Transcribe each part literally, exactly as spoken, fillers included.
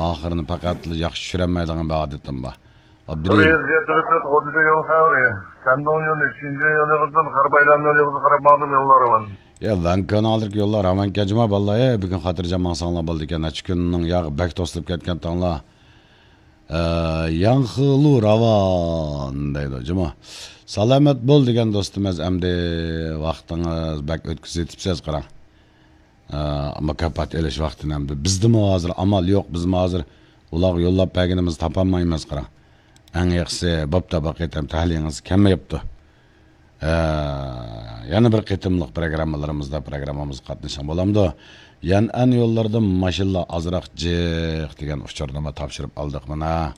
ئاخىرىنى پەقەتلا ياخشى چۈشۈرەلمەيدىغان بىر ئادىتىم بار. ئابدۇرېھىم. بىر يۈز يەتتە تۆت ئوتتۇز يول خەۋىرى. سەندىڭ يولى، شىنجاڭ يولىغا، غەرب ئايلانما يولىغا قاراپ ماڭدىم يوللار بىلەن. يا، ۋەنكاناڭلىق يوللار راۋانكەن جۇما باللا، ئەي، بۈگۈن خاتىرجەم ماڭساڭلار بولىدىكەن، نەچچە كۈننىڭ ياغى بەك توسۇلۇپ كەتكەنتىڭلار. ئە، ياڭخىلۇ راۋان دەيدۇ جۇما. سالامەت بول دېگەن دوستىمىز، ئەمدى ۋاقتىڭىز بەك ئۆتكۈزۈۋېتىپسىز، قاراڭ. ئە، مۇكاپات ئېلىش ۋاقتىنى ئەمدى. بىزدىمۇ ھازىر ئامال يوق، بىزمۇ ھازىر ئۇلارغا يوللاپ بەرگىنىمىزنى تاپالمايمىز، قاراڭ. ئەڭ ياخشىسى، بوپتۇ، بۇ قېتىم تەلىيىڭىز كەلمەيدۇ. ئە، يەنە بىر قېتىملىق پروگراممىلىرىمىزدا پروگراممىمىزغا قاتنىشىڭ بولامدۇ؟ يەنئەن يوللىرىدا ماشىنىلار ئازراق جىق دېگەن ئۇچۇرنىمۇ تاپشۇرۇپ ئالدۇق مانا.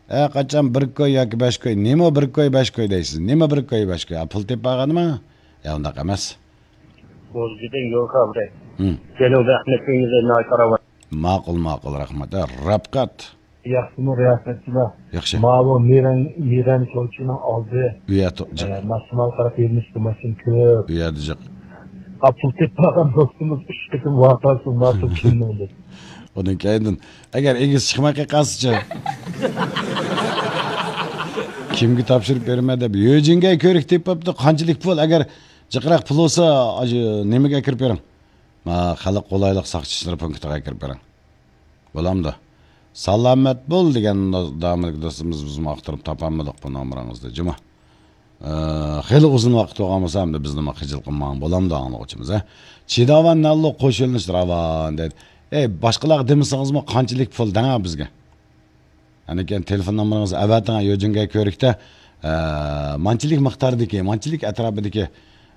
ئە، قاچان بىر كوي ياكى بەش كوي، نېمە بىر كوي، بەش كوي دەيسىز؟ نېمە بىر كوي، بەش كوي؟ ئە، پۇل تېپىپ بارغانما؟ يا، ئۇنداق ئەمەس. بولدى دېدىڭ، يول خەۋىرى. ھىم. جەنۇب ئەخمەت كۆڭۈلدە ناھايىتى راۋان. ماقۇل، ماقۇل، رەھمەت. ئە، رەپقەت. ياخشىمۇ رىياسەتچىلەر؟ ياخشى. ماۋۇ مىرەن، مىرەن چوچىنىڭ ئالدى. ئۇ يەردە جىق. ئە، ماشىنىلار قاراپ يۈرمىشتە ماشىنا كۆپ. ئۇ يەردە جىق. ئا، پۇل تېپىپ بارغان دوستىمىز ئۈچ قېتىم ۋارقىرىسى ماتۇر كىمنىڭ دەپ. ئۇنىڭ كەينىدىن، ئەگەر ئېگىز چىقماي قالسىچۇ؟ كىمگە تاپشۇرۇپ بېرىمەن دەپ، يۆجىنگەي كۆرۈك تېپىپتۇ، قانچىلىك پۇل؟ ئەگەر جىقراق پۇل بولسا، ئاشۇ نېمىگە ئەكىرىپ بېرىڭ. ما، خەلق قولايلىق ساقچى ئىشلىرى پونكىتىغا ئەكىرىپ بېرىڭ. بولامدۇ؟ سالامەت بول دېگەن دامىلىك دوستىمىز، بىزمۇ ئاختۇرۇپ تاپالمىدۇق بۇ نومۇرىڭىزنى، جۇما. ئە، خېلى ئۇزۇن ۋاقىت بولغان بولسا، ئەمدى بىزنىمۇ خىجىل قىلماڭ، بولامدۇ، ئاڭلىغۇچىمىز، ھە؟ چىداۋان نەللۇ قوش يۆنىلىش راۋان دەيدۇ. ئەي، باشقىلارغا دېمىسىڭىزمۇ، قانچىلىك پۇل دەڭە بىزگە. ئاندىن كېيىن تېلېفون نومۇرىڭىزنى ئەۋەتىڭ، يۆجىنگەي كۆرۈكتە، ئە، مانچىلىك مىقداردىكى، مانچىلىك ئەتراپىدىكى،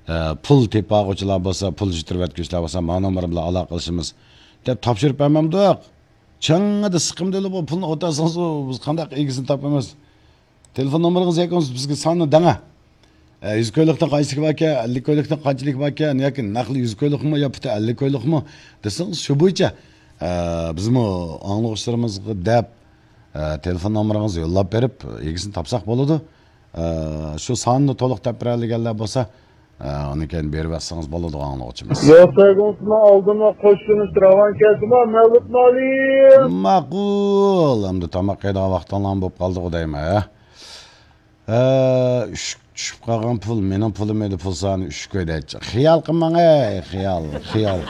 ئە، پۇل تېپىۋالغۇچىلار بولسا، پۇل يىتتۈرۈۋەتكۈچىلەر بولسا، مانا نومۇر بىلەن ئالاقىلىشىمىز دەپ تاپشۇرۇپ بەرمەمدۇق. چىڭىدا سىقىمدىلا بۇ پۇلنى ئوتاسىڭىز، بىز قانداق ئىگىسىنى تاپىمىز؟ تېلېفون نومۇرىڭىز ياكى بولمىسا بىزگە ساننى دەڭە. ئە، يۈز كويلۇقتىن قانچىلىك باركەن، ئەللىك كويلۇقتىن قانچىلىك باركەن ياكى نەقلى يۈز كويلۇقمۇ يا پۇتى ئەللىك كويلۇقمۇ دېسىڭىز، شۇ بويىچە، ئە، بىزمۇ ئاڭلىغۇچىلىرىمىزغا دەپ، ئە، تېلېفون نومۇرىڭىزنى يوللاپ بېرىپ، ئىگىسىنى تاپساق بولىدۇ. ئە، شۇ ساننى تولۇق دەپ بېرەلىگەنلەر بولسا، ئە، ئۇنى كېيىن بېرىۋەتسىڭىز بولىدۇ، ئاڭلىغۇچىمىز. يول سۆيگۈسىمۇ ئالدىمۇ قوشۇلۇش راۋان كەلدىمۇ مەۋلۇت مالىم. ماقۇل، ئەمدى تاماق يەيدىغان ۋاقتىڭلارمۇ بولۇپ قالدىغۇ دەيمەن، ھە؟ ئە، ئۈشۈك چۈشۈپ قالغان پۇل، مېنىڭ پۇلۇم ئىدى، پۇل سانى ئۈچ كوي دەيتتى. خىيال قىلماڭ، ئەي، خىيال، خىيال.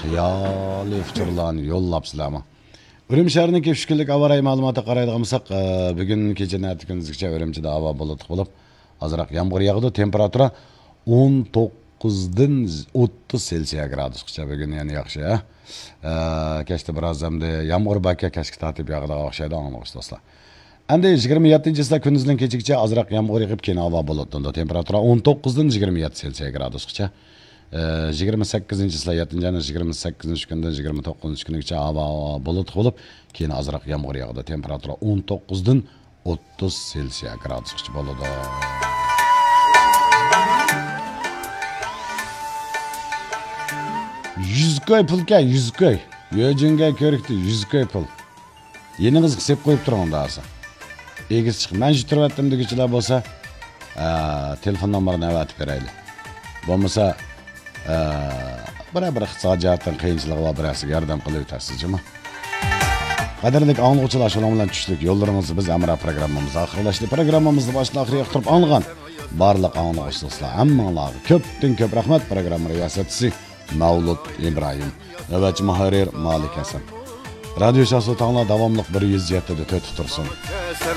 خىيالىي ئۇچۇرلارنى يوللاپسىلەرمۇ؟ ئۈرۈمچى شەھىرىنىڭكى ئۈچ كۈنلۈك ھاۋا رايى مەلۇماتىغا قارايدىغان بولساق، ئە، بۈگۈن كېچە نەتە كۈندۈزگىچە ئۈرۈمچىدە ھاۋا بۇلۇتلۇق بولۇپ، ئازراق يامغۇر ياغىدۇ. تېمپېراتۇرا ئون توققۇزدىن ئوتتۇز سېلسىيە گرادۇسقىچە بۈگۈن يەنە ياخشى، ھە. ئە، كەچتە بىراز ئەمدى يامغۇر باركەن، كەچكە تارتىپ ياغىدىغان ئوخشايدۇ، ئاڭلىغۇچى دوستلار. ئەمدى يىگىرمە يەتتىنچى چىسلا كۈندۈزدىن كېچىگىچە ئازراق يامغۇر يېغىپ، كېيىن ھاۋا بۇلۇتلىنىدۇ. تېمپېراتۇرا ئون توققۇزدىن يىگىرمە يەتتە سېلسىيە گرادۇسقىچە. ئە، يىگىرمە سەككىزىنچى چىسلا، يەتتىنچى ئاينىڭ يىگىرمە سەككىزىنچى كۈنىدىن يىگىرمە توققۇزىنچى كۈنىگىچە ھاۋا بۇلۇتلۇق بولۇپ، كېيىن ئازراق يامغۇر ياغىدۇ. تېمپېراتۇرا ئون توققۇزدىن ئوتتۇز سېلسىيە گرادۇسقىچە بولىدۇ. يۈز كوي پۇلكەن، يۈز كوي. يۆجۈنگەي كۆرۈكتە يۈز كوي پۇل. يېنىڭىزغا سېلىپ قويۇپ تۇرۇڭ، ئۇنداق بولسا. ئېگىز چىقىپ، مەن يىتتۈرۈۋەتتىم دېگۈچىلەر بولسا، ئە، تېلېفون نومۇرىنى ئەۋەتىپ بېرەيلى. بولمىسا، ئە، بىرەر بىر ئىقتىساد جەھەتتىن قىيىنچىلىقى بار بىرەرسىگە ياردەم قىلىۋېتەرسىز جۇمۇ. قەدىرلىك ئاڭلىغۇچىلار، شۇنىڭ بىلەن چۈشلۈك يوللىرىڭىزدا بىز ھەمراھ پروگراممىمىز ئاخىرلاشتى. پروگراممىمىزنى باشتىن ئاخىرىغا ياقتۇرۇپ ئاڭلىغان بارلىق ئاڭلىغۇچىلار، ھەممىڭلارغا كۆپتىن كۆپ رەھمەت. پروگرامما رىياسەتچىسى مەۋلۇت ئىبراھىم. نۆۋەتچى مۇھەررىر مالىك ھەسەن. رادىيو شاھسۇلتانلار داۋاملىق بىر يۈز يەتتىدە تۆتتە تۇرسۇن.